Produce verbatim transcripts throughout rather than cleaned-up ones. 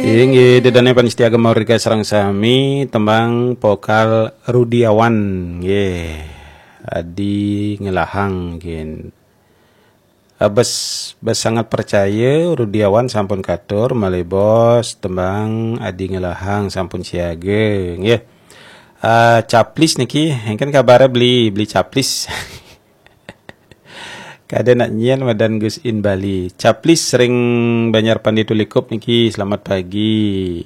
Inggih, ida dané pamiarsa Gema Merdeka sareng sami, tembang vokal Rudiawan, nggih. Adi Ngelahang, nggih. Ah, bes, bes sangat percaya, Rudiawan sampun katur, malih bos, tembang Adi Ngelahang sampun siaga, nggih. Ah, Caplis niki, éngkén kabaré beli, beli Caplis. Kadén nak nyén madan Gus In Bali. Caplis ring Banjar Pande Tulikup niki, selamat pagi.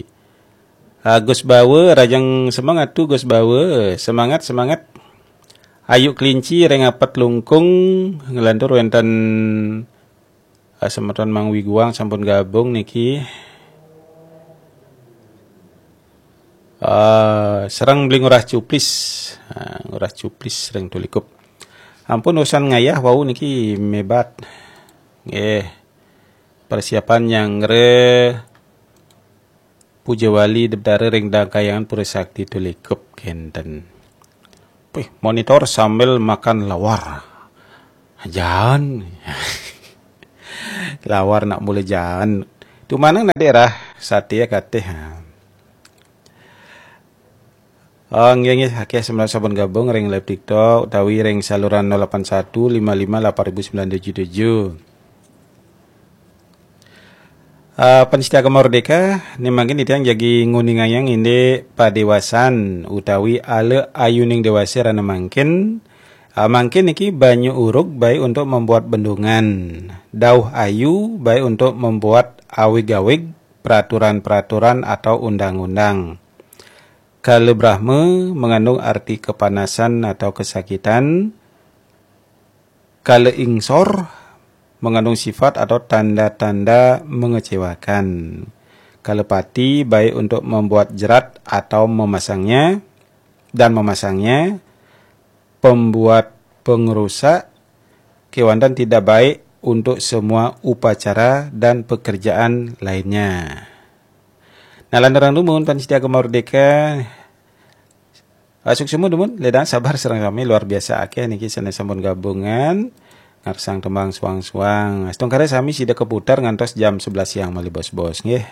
Ah, Gus Bawa, rahajeng semangat tu Gus Bawa. Semangat, semangat. Ayu Kelinci ring Apet Lungkung, nglantur wénten, ah, semeton Mang Wiguang sampun gabung niki. Ah, sareng beli Ngurah Cuplis. Ah, Ngurah Cuplis ring Tulikup. Ampun usan ngayah wau niki mébat. Nggih. Persiapan nyanggra Puja Wali Debdara ring Dang Kahyangan Pura Sakti Tulikup kénten. Wih, monitor sambil makan lawar. Jaan. Lawar nak mula jaan. Tu manang nak daerah saté ya katih. Oh, nggih, nggih, akéh semeton sampun gabung ring live TikTok utawi ring saluran nol delapan satu lima lima delapan ribu sembilan tujuh tujuh. Ah, pamiarsa Gema Merdeka, né mangkin titiang jagi nguningayang indik padéwasan utawi ala ayuning déwasa rahina mangkin. Ah, mangkin niki banyu urug baik untuk membuat bendungan, dauh ayu baik untuk membuat awig-awig, peraturan-peraturan atau undang-undang. Kala Brahma mengandung arti kepanasan atau kesakitan. Kala Ingsor mengandung sifat atau tanda-tanda mengecewakan. Kala Pati baik untuk membuat jerat atau memasangnya dan memasangnya, pembuat pengerusak, kéwanten tidak baik untuk semua upacara dan pekerjaan lainnya. Nah, lanturang dumun pamiarsa Gema Merdeka. Ah, suksma dumun, ledang sabar sareng sami, luar biasa akéh niki sané sampun gabung ngarsang tembang suang-suang. Astungkara sami sida kaputar ngantos jam sebelas siang malih bos-bos, nggih.